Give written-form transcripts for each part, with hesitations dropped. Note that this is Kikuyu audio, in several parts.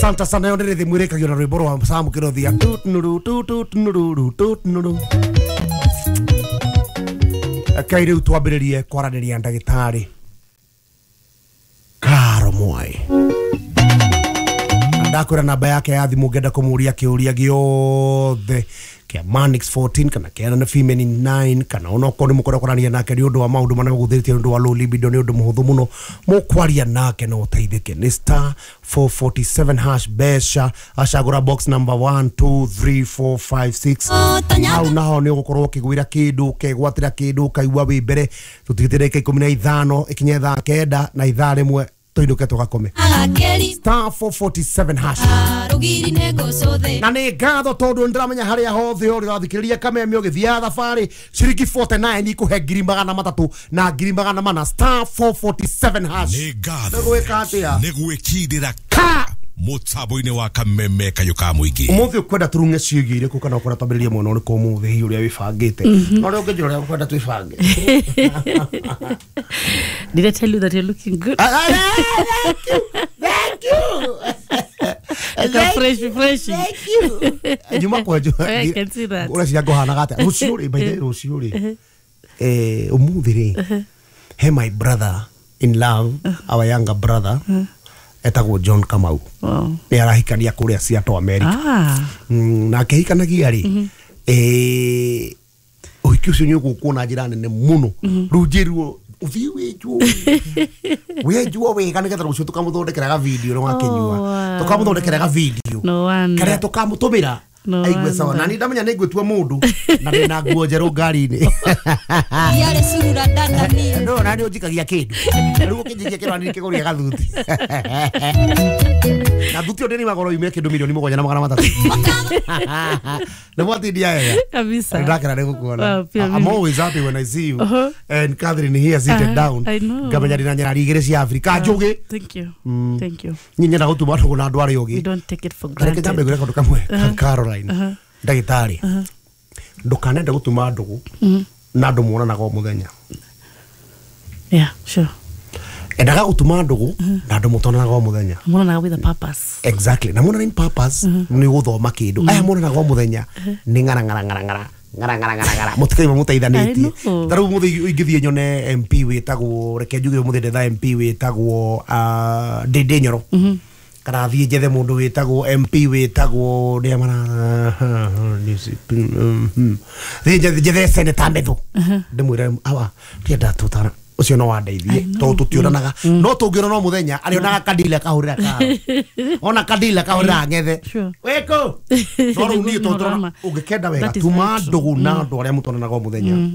Santa sana yo nĩ rĩthĩmu ĩrĩkagio na rwĩmbo rwa Sam Kĩrothia tutnuru tutnuru tutnuru. Rekei rĩu twambĩrĩrie kwaranĩria ndagĩtarĩ Karo Mwai. Ndakwĩra namba yake ya thimũ ngenda kũmũria kĩũria gĩothe kĩa Manix 14 kana kĩa na Female 9 kana onokorwo nĩ mũkwenda kwaranĩria nake nĩ ũndũ wa maũndũ marĩa mũgũthĩrĩtie nĩ ũndũ wa low libido nĩ ũndũ mũhũthũ mũno mũkwaria nake na ũteithĩke. Nĩ star 447 hash mbeca acagũra box number 1 2 3 4 5 6 hau naho nĩ ũgũkorwo ũkĩgwĩra kĩndũ ũkegwatĩra kĩndũ ũkaigua wĩ mbere. Tũtigĩte ndagĩka 15 ĩkinye thaa 9 na ithaa rĩmwe tũinũke tũgakome. Star 447 hash na nĩ ngatho tondũ nĩndĩramenya harĩa hothe ũrĩ ũrathikĩrĩria kameme ũgĩthiaga thabarĩ ciringi 49 ikũhe ngiri magana matatũ na ngiri magana mana. Star 447 hash. Nĩ ngatho nĩ gwĩka atĩa? Nĩ gwĩkindĩra ka mũtambo-inĩ wa kameme kayũ ka mũingĩ. Ũmũthĩ ũkwenda tũrung'e ciĩgiĩ irĩkũ kana ũkwenda twambĩrĩrie mwena ũrĩkũ ũmũthĩ hihi ũrĩa wĩbangĩte? No ũrĩa ũngĩnjĩra ũrĩa ũkwenda twĩbange. Did I tell you that you're looking good? Thank you. Thank you. Like a fresh, refreshing. Thank you. Nyuma kwenjwo. I can see that. Ũreciria ngũhanaga atĩa? Rũciũ rĩ, by the way, rũciũ rĩ. Ũmũthĩ rĩ, he my brother in love, our younger brother, etagwo John Kamau. Wow. Nĩ arahikania kũrĩa Seattle, America. Na akĩhikanagia rĩ, ũhiki ũcio nĩ ũgũkwo na njĩra nene mũno. Rĩu njĩrwo ũthiĩ wĩnjwo wĩnjwo wega nĩgetha rũciũ tũkamũthondekera ga video nĩ wakĩnyua. Tũkamũthondekera ga video No wonder. karĩa tũkamũtũmĩra No aigue sawa. wonder. Na niĩ ndamenya nĩ ngwĩtua mũndũ na ndĩna nguo njerũ ngari-inĩ. No na nĩ ũnjikagia kĩndũ. Rĩu ũkĩnjikia kĩndũ na niĩ kĩgũria gathuti. Na thuti ĩyo ndĩrĩ yume kĩndũ milioni 7 na magana matatũ. Nĩ mwatindia wega. Kabisa. Ndakena nĩ gũkuona. Wow, pia I'm mimi. always happy when I see you. And Catherine here seated down. I know. Ngamenya ndĩna nyarari igĩrĩ cia Afrika njũgĩ. Thank you. Thank you. Niĩ nyenda gũtuma ndũgũ na andũ arĩa We ũgĩ. don't take it for Reke nyambe granted. ngwĩre kaũndũ kamwe Caroline. Ndagĩtarĩ. Ndũkanende gũtuma ndũgũ na andũ muonanaga o mũthenya. Yeah, sure. Endaga gũtuma ndũgũ na andũ mũtonanaga o mũthenya. Monanaga with a purpose. Exactly. Na monana in purpose nĩ gũthoma kĩndũ. Aya monanaga o mũthenya nĩ ng'ara ng'ara ng'ara ng'ara ng'ara ng'ara ng'ara ng'ara mũtikaima mũteithanĩtie. I know. Ta rĩu mũthĩ ingĩthiĩ nyone MP wĩtagwo, reke njuge ũmũthĩ ndetha MP wĩtagwo Ndĩndĩ Nyoro. Kana thiĩ njethe mũndũ wĩtagwo MP wĩtagwo nĩa mara thiĩ njethe Senator Methu ndĩmwĩre awa ndienda tũtara ũcio no wandeithie tondũ tũtionanaga no tũngĩonana o mũthenya arĩonaga kadila kahũrĩra karo ona kadila kahũrĩra ng'ethe Sure. wĩkũ no rĩu niĩ tondũ tũrona ũngĩkenda wega That is tuma very true. ndũgũ na andũ arĩa mũtonanaga o mũthenya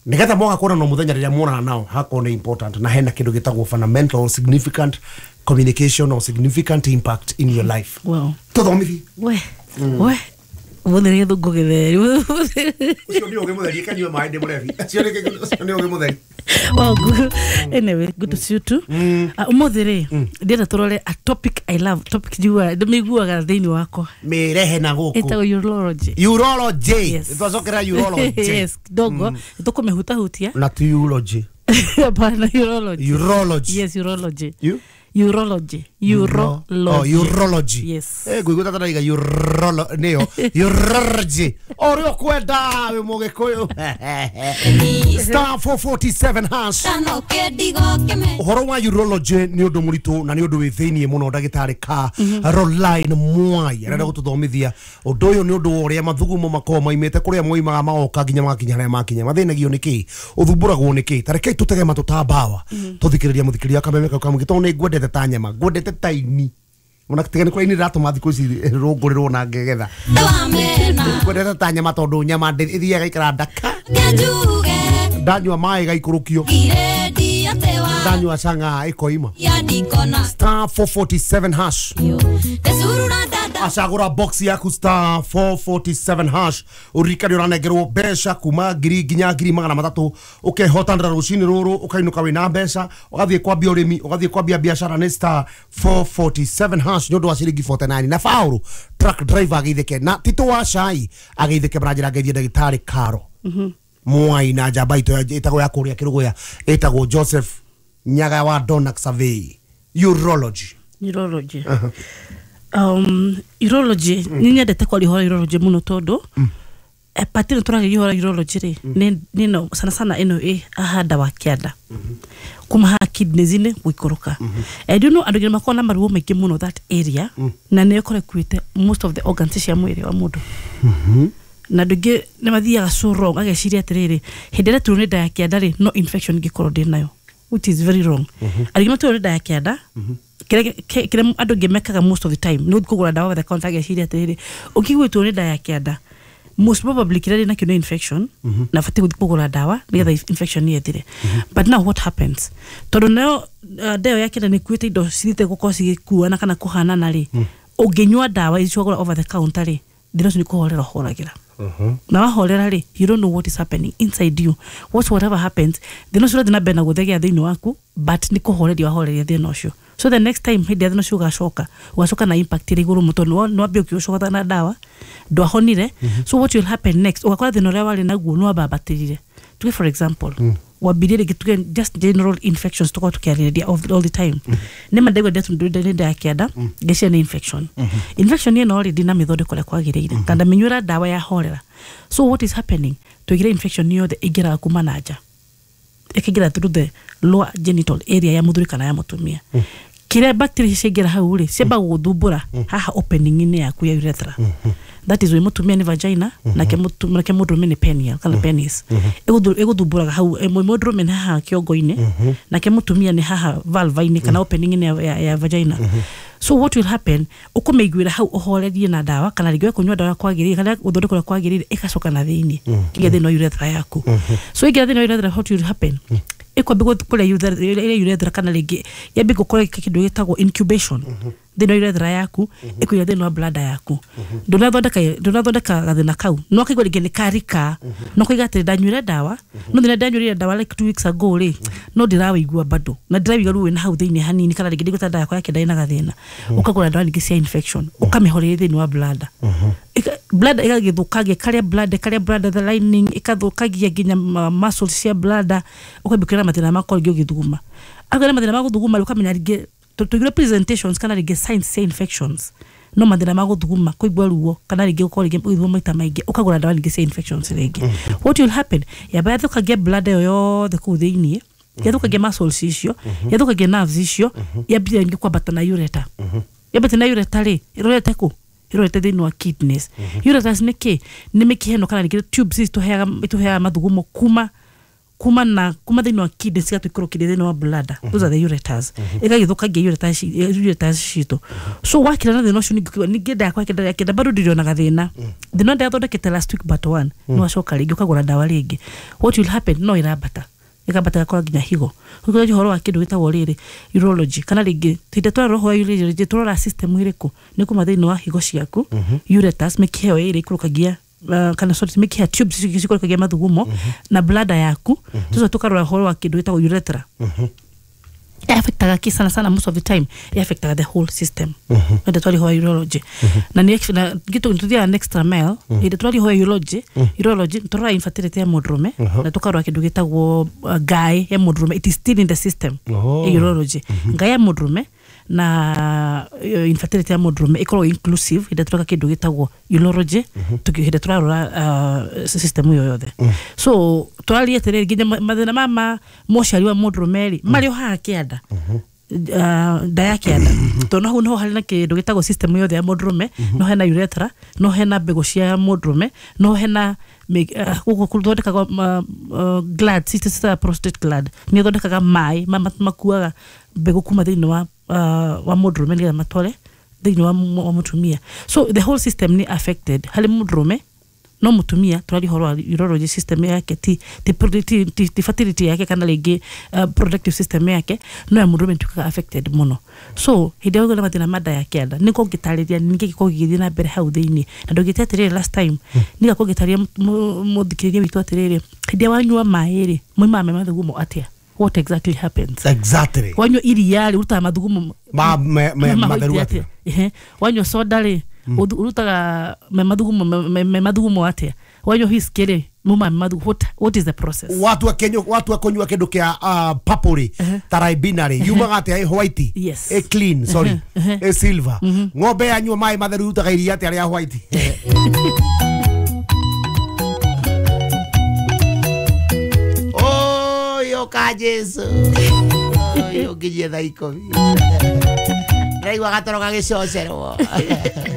nĩgetha moga kuonana o mũthenya rĩrĩa muonana nao hakorwo nĩ important na hena kĩndũ gĩtagwo fundamental significant communication or significant impact in your life. Wow. Tũthomithie. We. We. Ũmũthĩ nĩ gĩthũngũ gĩtheri. Ũcio nĩ ũgĩ mũtheri kanyua maĩ ndĩ mũrebi. Ũcio nĩ ũgĩ mũtheri. Well, good. Anyway, good to see you too. Ũmũthĩ rĩ, ndĩrenda tũrore a topic I love. Topic njiguaga, ndĩmĩiguaga thĩinĩ wakwa. Mĩrehe na gũkũ. Ĩtagwo urology. Urology. Yes. Twacokera urology. Yes, kidogo. Nĩtũkũmĩhutahutia. Na ti urology. Hapana, urology. Urology. Yes, urology. You? Urology. Urology. Oh, urology. Yes. Ngũigua tata ndaiga urolo nĩyo urology. Ũrĩa ũkwenda wĩ mũgĩkũyũ. Star 447 hash. Ũhoro wa urology nĩ ũndũ mũritũ na nĩ ũndũ wĩ thĩiniĩ mũno. Ndagĩtarĩ Caroline Mwai arenda gũtũthomithia ũndũ ũyũ nĩ ũndũ wa ũrĩa mathugumo makoragwo maimĩte kũrĩa moimaga magoka nginya magakinya harĩa makinya. Mathĩnagio nĩ kĩ? Ũthumbũragwo nĩ kĩ? Ta rekei tũtege matũ ta mbawa tũthikĩrĩria mũthikĩrĩria kameme kau kamũingĩ tondũ nĩ ngwendete ta nyama ngwendete ta ini ona tiga nĩ kũrĩa ini rĩratũma thikũ ici rũngũrĩrwo na ngegetha ngwendete ta nyama tondũ nyama ĩthiaga ĩikara ndaka ndanyua maĩ gaikũrũkio ndanyua cang'a ĩkoima. Star 447 hash. Acagũra box yaku star 447 hash ũririkane ũranengerwo mbeca kuma ngiri nginya ngiri magana matatũ ũkehotanĩra rũcinĩ rũrũ ũkainũka wĩna mbeca ũgathiĩ kwambia ũrĩmi ũgathiĩ kwambia biacara nĩ star 447 hash nĩ ũndũ wa ciringi 49 na Paul truck driver ageithĩke na Tito wa cai ageithĩke maranjĩra ngeithie ndagĩtarĩ Karo Mwai na njamba itũ ĩtagwo ya kũrĩa Kĩrũgũya ĩtagwo Joseph Nyaga wa Donax Survey. Urology. Urology. Urology nĩ nyendete kwaria ũhoro wa urology mũno tondũ pati ĩno tũragĩria ũhoro wa urology rĩ nĩ no sana sana ĩno ĩ haha nda wa kĩanda kuma haha kidneys-inĩ gũikũrũka. And you know andũ aingĩ makoragwo na maruo maingĩ mũno that area na nĩyo ĩkoragwo ĩkuĩte most of the organs cia mwĩrĩ wa mũndũ. Na andũ aingĩ nĩ mathiaga so wrong ageciria atĩrĩrĩ hĩndĩ ĩrĩa turwo nĩ nda ya kĩanda rĩ no infection ingĩkorwo ndĩ nayo, which is very wrong. Andũ aingĩ maturwo nĩ nda ya kĩanda kĩrĩa andũ aingĩ mekaga most of the time nĩ gũthiĩ kũgũra ndawa over the counter ageciria atĩrĩrĩ ũngĩigua nĩ nda ya kĩanda most probably kĩrĩa ndĩ nakĩo nĩ infection na batiĩ gũthiĩ kũgũra ndawa nĩgetha infection ĩthire. But now what happens tondũ nayo nda ĩyo ya kĩanda nĩ ĩkuĩte indo cithiĩte gũkorwo cigĩkuana kana kũhanana rĩ ũngĩnyua ndawa ici wagũra over the counter rĩ thĩna ũcio nĩ kũhorera ũhoragĩra. Na wahorera rĩ you don't know what is happening inside you. Whatever happens thĩna ũcio ũrathiĩ na mbere na gũthegea thĩinĩ waku but nĩ kũhoreria wahoreria thĩna ũcio. So the next time hĩndĩ ya thĩna ũcio ũgacoka na impact ĩrĩ igũrũ mũno tondũ nĩ wambia ũkĩũcogotha na ndawa ndwahonire. So what will happen next ũgakora thĩna ũrĩa warĩ naguo nĩ wambambatĩrire. Tuge for example wambirie rĩngĩ tuge just general infections tũkorwo tũkĩarĩrĩria all the time. Nĩ ma ndaigua nĩ nda ya kĩanda ngeciria nĩ infection. Infection ĩno rĩ ndinamĩthondeka ũrĩa kwagĩrĩire kana ndamĩnyuĩra ndawa yahorera. So what is happening tũigire infection yothe ĩingĩraga kuma na nja ĩkaingĩra through the lower genital area ya mũthuri kana ya mũtumia. Kĩrĩa bacteria ciaingĩra hau rĩ ciambaga gũgũthumbũra haha opening-inĩ yaku ya urethra. That is why mũtumia nĩ vagina nake mũndũrũme nĩ penial kana penis. Ĩgũthumbũraga hau mũndũrũme nĩ haha kĩongo-inĩ nake mũtumia nĩ haha vulva-inĩ kana opening-inĩ ya vagina. So what will happen ũkũmĩiguĩra hau ũhorerie na ndawa kana rĩngĩ kũnyua ndawa kwagĩrĩire kana gũthondekwo ũrĩa kwagĩrĩire ĩgacoka na thĩinĩ ĩgĩthiĩ thĩinĩ wa urethra yaku. So ĩngĩra thĩinĩ wa urethra what will happen ĩkwambia kũrĩa urethra kana rĩngĩ yambie gũkorwo kĩndũ gĩtagwo incubation thĩinĩ wa urethra yaku ĩkũingĩra thĩinĩ wa bladder yaku. Ndũnathondeka gathĩna kau no kaigua rĩngĩ nĩ karika no kaiga atĩrĩ ndanyuire ndawa no thĩna ndanyuire ndawa like 2 weeks ago rĩ no ndĩrawĩigua bado na ndĩraigua ruo wĩna hau thĩinĩ hanini kana rĩngĩ ndĩgũta ndawa yakwa ya kĩanda ĩna gathĩna ũkagũra ndawa ningĩ cia infection ũkamĩhoreria thĩinĩ wa bladder. Bladder ĩgagĩthũkangia karĩa bladder the lining ĩkathũkagia nginya muscles cia bladder ũkambia kwĩra mathĩna makorwo rĩngĩ ũgĩthuguma agĩra mathĩna ma gũthuguma rĩ ũkamenya rĩngĩ tũigire presentations kana rĩngĩ signs cia infections no mathĩna ma gũthuguma kũigua ruo kana rĩngĩ ũkorwo rĩngĩ ũgĩthuguma maita maingĩ ũkagũra ndawa rĩngĩ cia infections rĩngĩ. What will happen yamba yathũkangia bladder ĩyo yothe kũu thĩinĩ yathũkangia muscles icio yathũkangia nerves icio yambia rĩngĩ kwambata na ureter. Yambata na ureter rĩ ĩrorete kũ ĩrorete thĩinĩ wa kidneys. Ureters nĩ kĩ nĩ mĩkiha ĩno kana rĩngĩ tubes ici itũheaga mathugumo kuma thĩinĩ wa kidneys cigatũikũrũkĩria thĩinĩ wa bladder. Those are the ureters. Ĩgagĩthũkangia ureters citũ. So wakira na thĩna ũcio ningĩ nda yakwa kĩanda bado ndirionaga thĩna thĩna ndathondekete last week but one no wacoka rĩngĩ ũkagũra ndawa rĩngĩ. What will happen no ĩrambata ĩkambata ĩgakora nginya higo. Ũkĩra ũhoro wa kĩndũ gĩtagwo rĩrĩ urology kana rĩngĩ hĩndĩ twarora ũhoro wa urology tũrora system ĩrĩkũ nĩ kuma thĩinĩ wa higo ciaku ureters mĩkiha ĩyo ĩrĩ ĩikũrũkagia kana sorry mĩkiha tubes cikũrũkagia mathugumo na bladder yaku tũcoka tũkarora ũhoro wa kĩndũ gĩtagwo urethra. Affectaga ki sana sana most of the time affectaga the whole system. Hĩndĩ twari ho urology na nĩ gĩtũ tũthiaga extra mile hĩndĩ twari ho urology tũrora infertility ya mũndũrũme na tũkarora kĩndũ gĩtagwo ngaĩ ya mũndũrũme. It is still in the system. Urology ngaĩ ya mũndũrũme na infertility ya mũndũrũme ĩkoragwo inclusive hĩndĩ tũreka kĩndũ gĩtagwo urology hĩndĩ tũrarora system ĩyo yothe. So tũraria atĩrĩrĩ nginya mathĩna ma mũciari wa mũndũrũme rĩ marĩ o haha kĩanda nda ya kĩanda tondũ hau noho harĩ na kĩndũ gĩtagwo system yothe ya mũndũrũme no hena urethra no hena mbegũ cia mũndũrũme no hena gũkũ gũthondekagwo gland ciĩtagwo prostate gland nĩ ĩthondekaga maĩ makuaga mbegũ kuma thĩinĩ wa mũndũrũme nĩgetha matware thĩinĩ wa mũtumia. So the whole system nĩ affected harĩ mũndũrũme no mũtumia tũraria ũhoro wa urology system yake ti fertility yake kana rĩngĩ protective system yake no ya mũndũrũme ĩtuĩkaga affected mũno. So hĩndĩ ĩrĩa ũgĩa na mathĩna ma nda ya kĩanda nĩ kũngĩtarĩria ningĩ gĩkorwo gĩgĩthiĩ na mbere hau thĩinĩ na ndũngĩte atĩrĩrĩ last time nĩga kũngĩtarĩria mũthikĩrĩria witũ atĩrĩrĩ hĩndĩ ĩrĩa wanyua maĩ rĩ moimaga me mathugumo atĩa what exactly happens. Exactly. Wanyua iria rĩ ũrutaga mathugumo matheru atĩa. Wanyua soda rĩ ũrutaga me mathugumo atĩa. Wanyua whisky rĩ Muma mathu, what is the process? Watua kenyo watua kunyua kindu kia purple ri ta Ribena ri yumaga atia ĩ white? Yes. Ĩ clean, sorry, ĩ silver. Ng'ombe yanyua maĩ matheru irutaga iria atia rĩa white? Oi, oka Jesu. Oi, ũnginyie thaa 10. Ndĩraigua gatoro gagĩcocerwo.